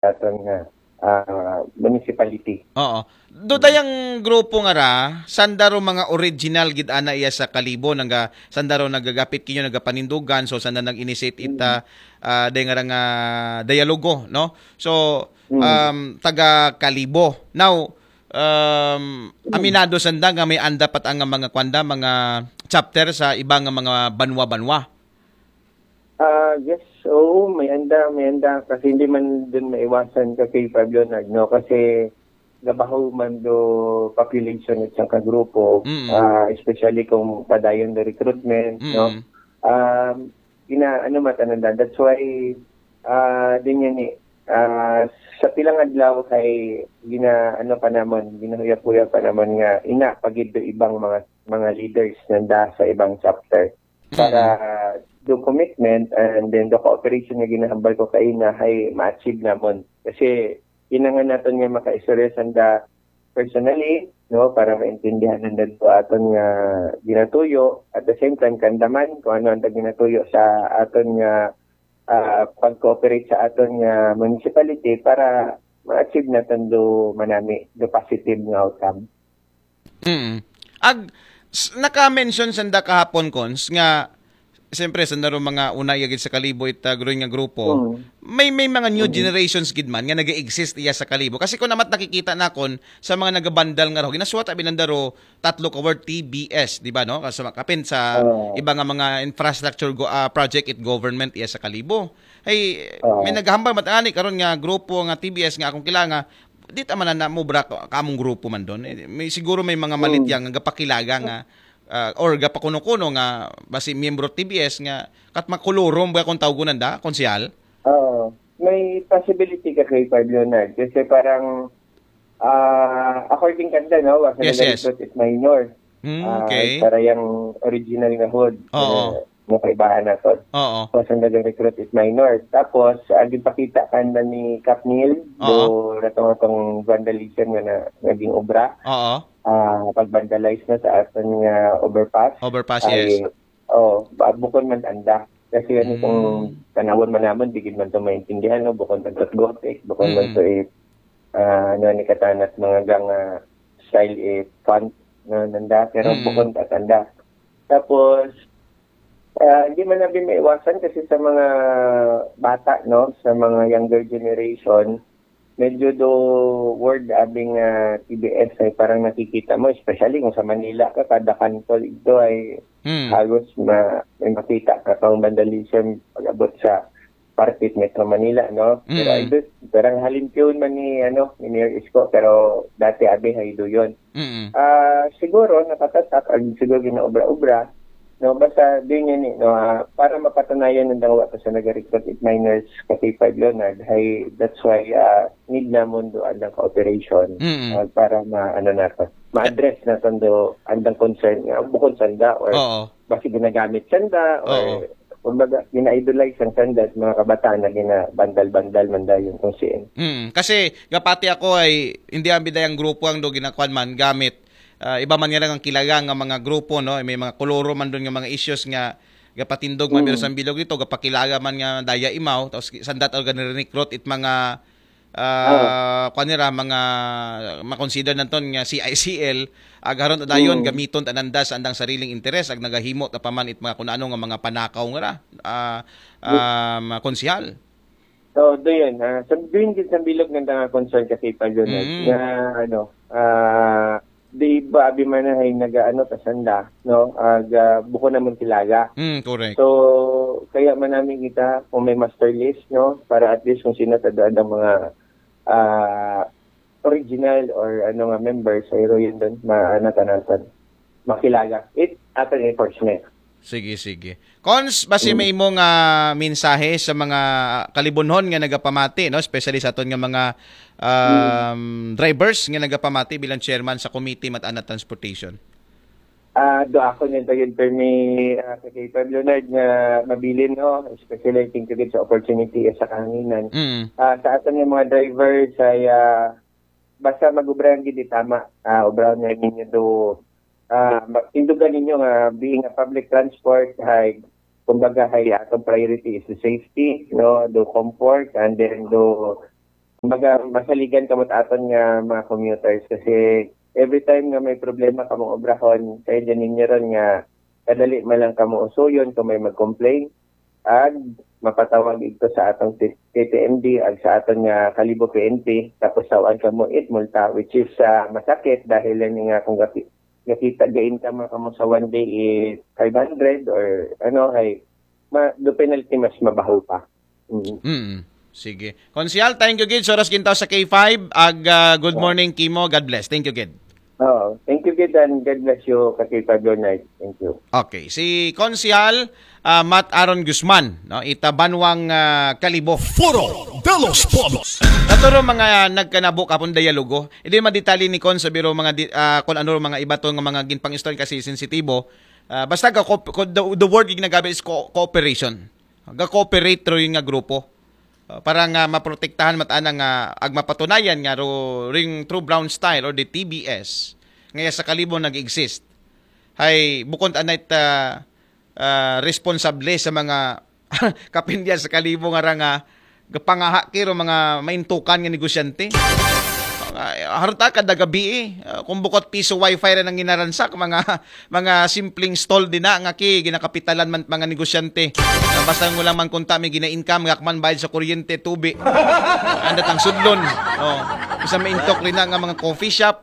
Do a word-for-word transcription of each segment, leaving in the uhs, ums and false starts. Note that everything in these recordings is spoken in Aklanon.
aton nga ah, municipality. Oo. Do dayang grupo nga ra, sanda ro mga original gid ana iya sa Kalibo, naga sanda ro nagagapit kinyo, nagapanindugan, so sanda nag-initiate ita ah, day nga ra nga dialogo, no? So um, taga Kalibo. Now, um, aminado sanda nga may anda pat ang mga kwanda, mga chapter sa iba nga mga banwa-banwa. Ah, yes, oo, may anda, may anda kasi hindi man din maiwasan kasi Pablo Nag, no? Kasi gabaho man do population at siyang kagrupo, Mm. ah, especially kung padayon do recruitment, Mm. no? Um, gina, ano matananda, that's why ah, din yan eh. Ah, sa pilang adlaw kay gina, ano pa naman, ginahuya-huya pa naman nga ina pagid do ibang mga mga leaders nanda sa ibang chapter para do commitment and then the cooperation nga ginahambal ko kay ina hay ma-achieve namon. Kasi kinahanglan naton nga makaistorya sanda personally, no, para maintindihan nanda do aton nga ginatuyo. At the same time, kandaman kung ano ang ginatuyo sa aton nga ah, pag-cooperate sa aton nga municipality para ma-achieve naton do manami do positive nga outcome. Mm. Ag s- naka-mention sanda kahapon, Cons, nga siyempre sanda ro mga una iya gid sa Kalibo it ah, growing nga grupo. Mm. May may mga new generations gid man nga nag-exist iya sa Kalibo. Kasi kung namat nakikita nakon sa mga nagabandal nga ro, ginasuwat abi nanda ro tatlo ka word T B S, di ba, no? Kasi kapin sa Oo. iba nga mga infrastructure go, ah, project it government iya sa Kalibo. Ay, Oo. may naghambal mat ani karon nga grupo nga T B S nga akong kilala nga di ta man na mubra ka- kamong grupo man doon. Eh, may siguro may mga malit yang nga gapakilaga nga ah, or gapakuno-kuno nga basi miyembro T B S nga kat makulurom ba kung tawgon nanda, konsehal? Oo. May possibility ka kay Pablo Nag kasi parang ah, according kanda, no, was Yes, yes. Recruit is minor. Mm, Ah, okay. Para yung original nga hood. Oo. Eh, mukaibahan naton. Oo. Tapos ang naging recruit is minor. Tapos, ang ipakita kanda ni Cap Neil, Oo. do natong atong vandalism nga na, naging obra, Oo. ah, pag-vandalize na sa aton nga overpass. Overpass, Ay, yes. Oh, ba- bukon man anda. Kasi ano Mm. kung tanawon man namon, di gid man to maintindihan, no? Bukon man to Gothic, bukon man Mm. to eh, ah, ano ni katanat mga gang ah, style eh, font, no, nanda, pero Mm. bukon ta anda. Tapos, ah, hindi man natin maiwasan kasi sa mga bata, no, sa mga younger generation, medyo do word abing ah, T B S ay parang nakikita mo, especially kung sa Manila ka, kada kanto ito ay Mm. halos ma, may makita ka kang vandalism pag-abot sa parte Metro Manila, no? Pero Mm. I do, parang halimpyon man ni, ano, ni Mayor Isko, pero dati abi hay do yun. Mm. Ah, siguro nakatatak ang siguro ginaobra-obra, no? Basta din yan eh, no? Ah, para mapatunayan ng dangwa sa nag-recruit it minors kasi five Leonard, hay that's why ah, need namon do ang cooperation Mm. ah, para ma ano nato, ma-address naton do andang concern nga bukod sanda or Oo. basi ginagamit sanda or Oo. kumbaga gina-idolize ang sanda at mga kabataan na gina-bandal-bandal man dayon kung siin. Mm. Kasi gapati ako ay hindi ang bidayang grupo ang do ginakuan man gamit ah, iba man nga lang ang kilaga nga mga grupo, no? May mga koloro man doon nga mga issues nga gapatindog man Mm. sa bilog dito, gapakilaga man nga daya imaw, tapos sandat or ganirinikrot it mga ah kuan nira, mga makonsider naton nga C I C L, agaron dayon Mm. gamiton tananda sa andang sariling interes ag nagahimo ta pa man it mga kun ano nga mga panakaw nga ra ah, ah, mga konsehal. So, doon, ah, sa doon din sa bilog ng mga concern kasi pa yun, Mm. na ano, ah, di ba abi man na ay nag-ano kasanda, no? Ag, ah, buko naman kilaga. Mm, correct. So, kaya man namin kita kung may master list, no? Para at least kung sino tadaan ang mga ah, original or ano nga members ay yun doon, maanatan natin. Makilaga. It, ating enforcement. Sige, sige. Cons, basi may imong ah, mensahe sa mga kalibunhon nga nagapamati, no? Especially sa aton nga mga um, drivers nga nagapamati bilang chairman sa Committee Matan-an Transportation. Ah, do ako niyan tayo permi ah, sa kay Pablo Leonard nga mabilin, no? Especially thank you gid sa opportunity sa kanginan. Mm. Ah, sa aton nga mga drivers ay ah, basta mag-ubra ang gid tama. Ah, ubra na ninyo do ah, ma- tindugan ninyo nga being a public transport hay kumbaga hay atong priority is the safety, no, do comfort and then do Kumbaga, masaligan kamo aton nga mga commuters kasi every time nga may problema kamong obrahon, kaya dyan ninyo ron nga kadali man lang kamo usuyon kung may mag-complain, ag mapatawag ito sa atong T T M D ag sa aton nga Kalibo P N P, tapos sawan kamo it multa, which is ah, masakit dahil lang nga kung gaki- nakita gain ka mga kamo sa one day is five hundred or ano, ay ma, do penalty mas mabaho pa. Mm. Mm. Sige. Konsehal, thank you gid sa oras gintaw sa K five. Ag ah, good morning kimo. God bless. Thank you gid. Oh, thank you gid and God bless you, Kati Pablo Knight. Thank you. Okay, si Konsehal ah, Matt Aaron Guzman, no, ita banwang ah, Kalibo. Foro de los Pueblos. Naturo mga nagkanabo kapon dialogo. Hindi madetali ni Kon sa biro mga di, ah, kung ano mga iba to nga mga ginpang-istorya kasi sensitibo. Ah, basta ka, ko- ko- the, the word ginagabi is co- cooperation. Ga-cooperate ro yun nga grupo. Ah, para nga maprotektahan matana nga ag mapatunayan nga ro ring true brown style or the T B S nga sa Kalibo nag-exist. Hay bukon anay ta ah, responsable sa mga kapindia sa Kalibo nga ra nga gapangaha kiro mga maintukan nga negosyante. Nga, harta kada gabi eh. Ah, kung bukot piso wifi ra nang ginaransak, mga mga simpleng stall din na nga ki ginakapitalan man mga negosyante. Ah, basta mo lang man kunta may gina-income, ngakman bayad sa kuryente, tubi. Anda tang sudlon. Oh. Basta may intok rin na nga mga coffee shop,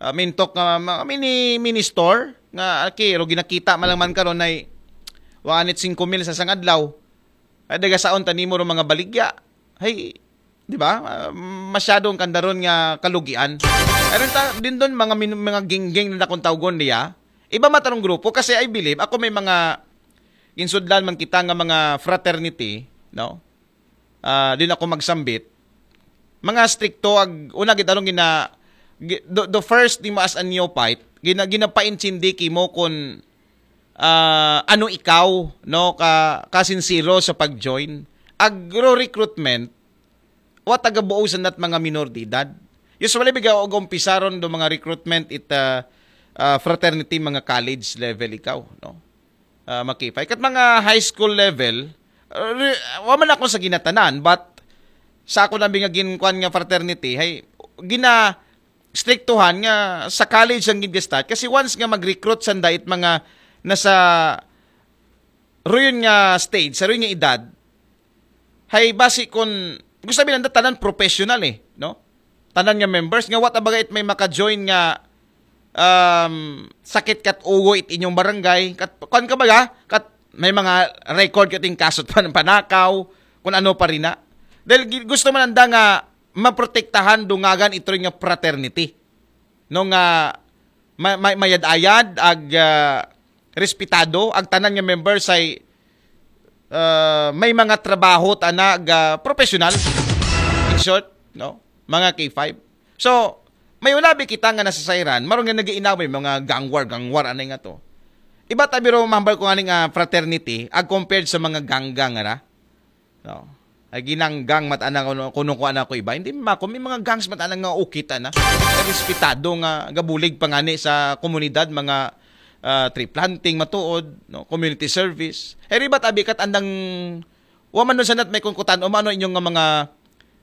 ah, mintok nga mga mini mini store nga aki ro ginakita man lang man karon ay wa anit singko mil sa isang adlaw. Ay daga saon ta nimo ro mga baligya. Hay, di ba? Ah, masyadong kandaron nga kalugian. Aron ta din doon mga min- mga gingging na akong tawgon niya. Iba matarong grupo kasi I believe ako may mga ginsudlan man kita nga mga fraternity, no? Ah, din ako magsambit. Mga strikto ag una gid arong gina gi- the, the first nimo as a neophyte, gina ginapaintindi kimo kun ah, ano ikaw, no, ka kasinsiro sa pag-join. Agro recruitment, wa taga buo sa nat mga minor de edad. Usually biga og umpisaron do mga recruitment it ah, ah, fraternity, mga college level ikaw, no? Ah, makipay kat mga high school level, ah, re- wa man ako sa ginatanan, but sa ako lang bingagin kwan nga fraternity, hay gina striktuhan nga sa college ang gid start kasi once nga mag-recruit sanda it mga nasa ruyon nga stage, sa ruyon nga edad, hay basi kun gusto sabihin nanda tanan professional eh, no? Tanan nga members nga wa ta baga it may maka-join nga um, sakit kat ugo it inyong barangay, kat kuan ka baga, kat may mga record kat yung kasot pan panakaw, kung ano pa rin na. Dahil gi- gusto man nanda nga maprotektahan dungagan ito nga fraternity, no, nga ma- ma- mayad-ayad ag ah, respetado ag tanan nga members ay ah, may mga trabaho tana ga professional, in short, no, mga K five. So may unabi kita nga nasasayran, maron nga nag-iinaw may mga gang war, gang war anay nga to. Iba ta biro mahambal ko ani nga fraternity ag compared sa mga ganggang ra, no? Ay ginanggang mat ana kuno kuno ko ana ko iba. Hindi ma ko may mga gangs mat ana nga ukit ana. Respetado nga gabulig pangani sa komunidad, mga ah, tree planting matuod, no, community service. Eri ba't abi kat andang wa man nun sanat may kungkutan o mano inyong nga mga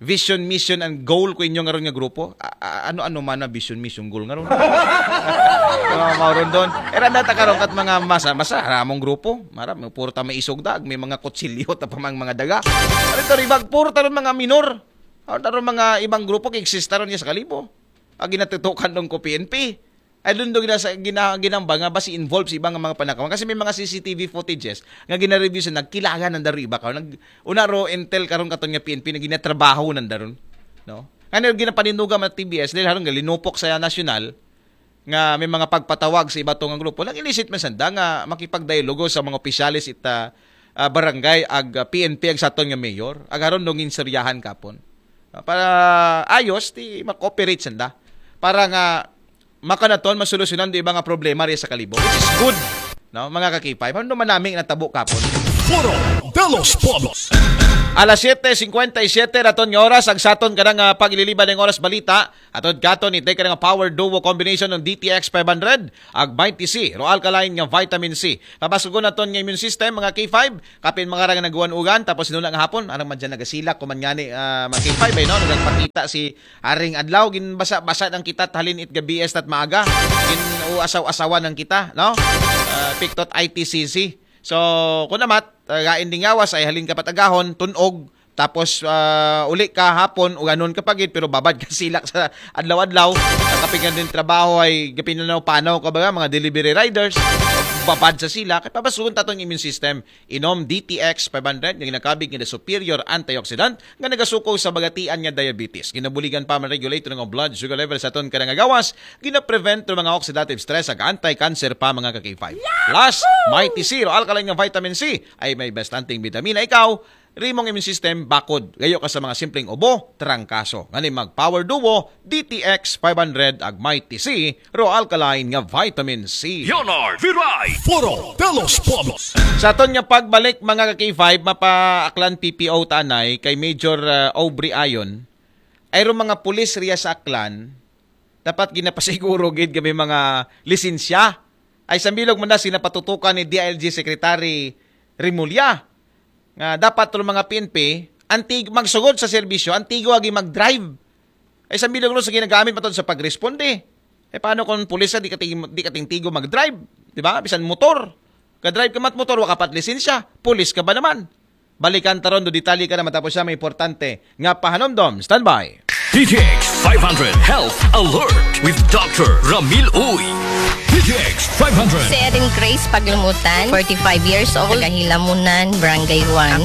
vision, mission, and goal ko inyong aron nga grupo? A- a- ano-ano man na vision, mission, goal nga ron? Mga mauron doon. Era na ta karon kat mga masa, masa, ramong grupo. Mara, may puro ta may isog dag, may mga kutsilyo ta pa mang mga daga. Ano to, ribag, puro ta ron mga minor. Ano ta ron mga ibang grupo, kay exista ron niya sa Kalibo. Ang ginatutukan doon ko P N P. Ay doon doon gina, gina, ginamba nga ba si involved sa ibang mga panakawan. Kasi may mga C C T V footages nga gina-review sa nagkilagan ng daro iba ka. Nag, una ro intel karon katon nga P N P na ginatrabaho ng daron. No? Nga ginapanindugan ng T B S dahil harong linupok sa nasyonal nga may mga pagpatawag sa iba to nga grupo. Nag-elicit man sanda nga makipagdialogo sa mga opisyalis ita ah, barangay ag ah, P N P ag saton nga mayor. Ag aron dong inseryahan kapon. Ah, para ayos ti ma-cooperate sanda. Para nga makanaton masolusyonan di iba nga problema ri sa Kalibo. Which is good, no, mga kakipay. Ano manami natabo kapon? Foro de los Pueblos. Alas siyete singkwenta y siyete raton nga oras, ag saton kanang, ah, paglilibad ng oras balita. Atod katon, itay ka nga power duo combination ng D T X five hundred, ag Mighty C, Ro Alkaline nga vitamin C. Pabasugon naton nga immune system, mga K five, kapin mga rang naguan-ugan, tapos nuna nga hapon, arang man dyan nagasilak, kuman ngani, ah, mga K five, ay, no? Nagpakita si Aring Adlaw, ginbasa-basa ng kita, halin it gabi, tat maaga, gin-uasaw-asawa ng kita, no? Ah, piktot I T C C. So, kung namat, uh, gain ding yawas ay halin ka patagahon, tunog, tapos ah, uli ka hapon, uganon ka pagid, pero babad ka silak sa adlaw-adlaw. Ang kapingan din trabaho ay gapinanaw-panaw ka ba, mga delivery riders, babad sa sila, kay pabasugon taton immune system. Inom D T X five hundred nga ginakabig nga superior antioxidant nga nagasuko sa bagatian nga diabetes. Ginabuligan pa man regulate ng blood sugar level sa aton kanang gawas, ginaprevent ng mga oxidative stress ag anti-cancer pa, mga ka-K five. Plus, Mighty C, Ro Alkaline nga vitamin C, ay may bastanting bitamina. Ikaw, rimong immune system bakod. Gayo ka sa mga simpleng ubo, trangkaso. Ngani mag Power Duo, D T X five hundred ag Mighty C, Ro Alkaline nga vitamin C. Leonard Viray. Foro de los Pueblos. Sa aton nga pagbalik, mga ka-K five, mapaaklan P P O tanay kay Major uh, Aubrey Ayon. Ay ro mga pulis riya sa Aklan, dapat ginapasiguro gid kami mga lisensya. Ay sambilog man na sinapatutukan ni D I L G Secretary Remulla nga dapat ro mga P N P antig magsugod sa serbisyo, antigo agi mag-drive. Ay sambilog ro sa ginagamit matod sa pagresponde. Eh paano kung pulis di kating di kating tigo mag-drive, di ba? Bisan motor. Ka-drive ka mat motor, wa ka pat lisensya. Pulis ka ba naman? Balikan taron do detalye ka na matapos siya may importante nga pahanumdom. Standby. D T X five hundred Health Alert with Doctor Ramil Uy. D T X five hundred. Si Erin Grace Paglumutan, forty-five years old, taga Hilamunan, Barangay one.